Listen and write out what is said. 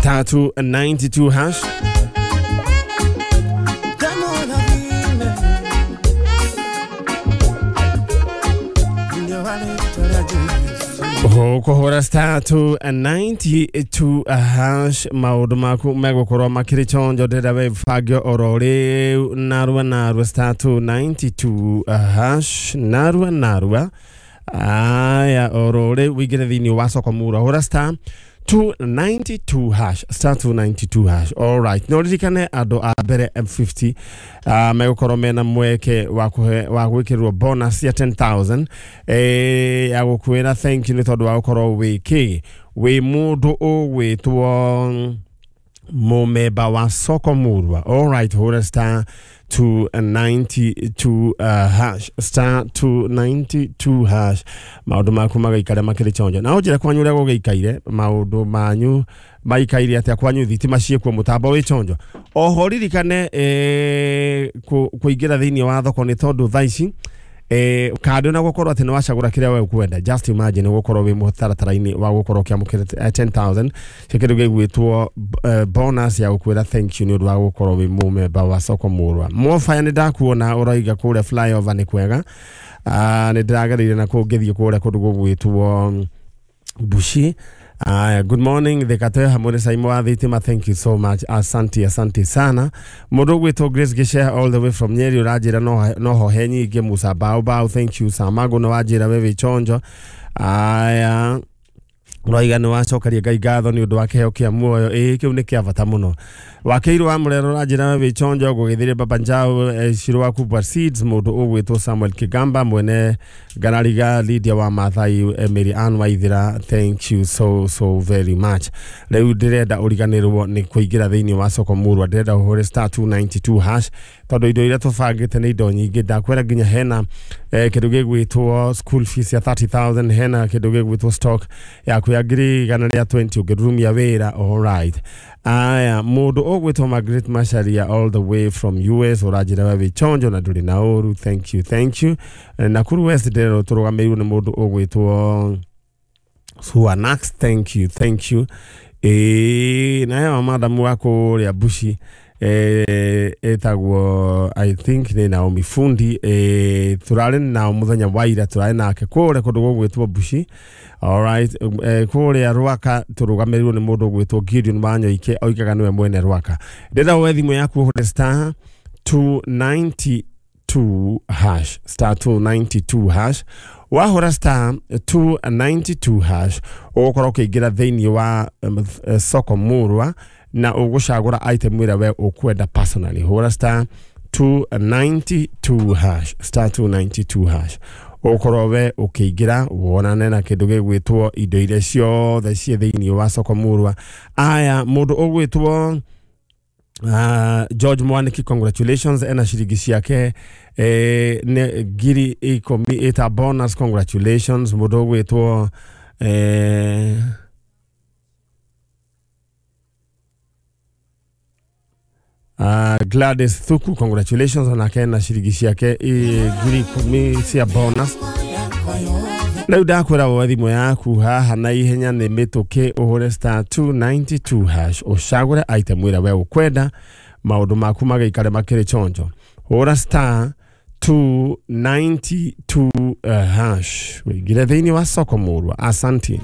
Star 292 hash. Ũkũhũra star 292 hash, maũndũ maku megũkorwo makĩrĩ chonjo. Ndĩrenda wĩbange oro rĩu narua narua, star 292 hash, narua narua. Aya, oro rĩu wĩingĩre thĩinĩ wa soko mura, hũra star 292 hash, star 292 hash. All right, no ririkane andũ a mbere M50 megũkorwo mena mweke wa kũhe wa gwĩkĩrwo bonus ya 10,000 ya gũkwĩra thank you nĩ tondũ wa gũkorwo wĩ kĩ wĩ mũndũ ũgwĩtwo mumemba wa soko murwa. All right, hũra star 292 hash, star 292 hash, maũndũ maku magaikara makĩrĩ chonjo. Na ũnjĩre kwanyu ũrĩa gũgĩikaire, maũndũ manyu maikaire atĩa kwanyu, thitima ciĩkuo, mũtambo wĩ chonjo. Oho ririkane kũingĩra thĩinĩ wa thoko nĩ tondũ thaa ici kando na gukorwo atĩ nĩ wacagũra kĩrĩa we ũkwenda, just imagine gũkorwo wĩ mũtaratara-inĩ wa gũkorwo ũkĩamũkĩra 10,000 cia kĩndũ gĩgwĩtwo bonus ya gũkwĩra thank you nĩ ũndũ wa gũkorwo wĩ mũmemba wa soko murwa. Mwofaya nĩ ndakuona ũroiga kũrĩa flyover nĩ kwega. Nĩ ndĩragereire na kũu ngĩthiĩ kũrĩa kũndũ gũgwĩtwo Bushi. Good morning Thikatoyo hamwe na Saimo wa thitima, thank you so much, asante, asante sana. Mũndũ ũgwĩtwo Grace Gishe all the way from Nyeri ũranjĩra no hohe nyingĩ. Musa Bao Bao, thank you. Samago nĩ wanjĩra we wĩ chonjo. Aya, ũroiga nĩ wacokeria Ngai ngatho nĩ ũndũ wa kĩheo kĩa muoyo, ĩĩ kĩu nĩ kĩa bata mũno. Wakĩirwo wa Mũrero ũranjĩra we wĩ chonjo. Gũgĩthire Baba Njau, Shiro wa Kubwa Seeds, mũndũ ũgwĩtwo Samuel Kigamba mwene Ngarariga, Lydia wa Mathai, Mary Ann Waithira, thank you so so very much. Rĩu ndĩrenda ũriganĩrwo nĩ kũingĩra thĩinĩ wa soko murwa, ndĩrenda ũhũre star 292 hash tondũ indo iria tũbangĩte nĩ indo nyingĩ. Ndakwĩra nginya hena kĩndũ gĩgwĩtwo school fees ya 30,000, hena kĩndũ gĩgwĩtwo stock yaku ya 120,000 ũngĩrurumia wĩra. All right, aya, mũndũ ũgwĩtwo Margaret Macharia all the way from US ũranjĩra we wĩ chonjo na ndũrĩ na ũru, thank you, thank you. Nakuru West ndĩrerwo tũrũgamĩrĩirwo nĩ mũndũ ũgwĩtwo Suanax, thank you, thank you. Naye madamu wa kũrĩa Bushi etagwo, I think nĩ Naomi Fundi, tũrarĩ nao mũthenya wa ira, tũrarĩ nake kũrĩa kũndũ gũgwĩtwo Bushi. Alright, kũrĩa Rwaka tũrũgamĩrĩirwo nĩ mũndũ ũgwĩtwo Gideon Wanyoike, oigaga nĩwe mwene Rwaka. Ndĩrenda woe thimũ yaku ũhũre star 292 hash, star 292 hash. Wahũra star 292 hash ũgũkorwo ũkĩingĩra thĩinĩ wa soko murwa na ũgũcagũra item ĩrĩa we ũkwenda personally. Hũra star 292 hash, star 292 hash, ũkorwo we ũkĩingĩra wonane na kĩndũ gĩgwĩtwo indo iria ciothe ciĩ thĩinĩ wa soko murwa. Aya, mũndũ ũgwĩtwo George Mwaniki, congratulations, ena ciringi ciake nĩ 10,000 ĩta bonus, congratulations. Mũndũ ũgwĩtwo Gladys Thuku, congratulations, onake na ciringi ciake 10,000 cia bonus. Rĩu ndakwĩra woe thimũ yaku haha na ihenya nĩ mĩtũkĩ, ũhũre star 292 hash, ũcagũre item ĩrĩa we ũkwenda, maũndũ maku magaikare makĩrĩ chonjo. Hũra star 292 hash wĩingĩre thĩinĩ wa soko murwa. Asanti.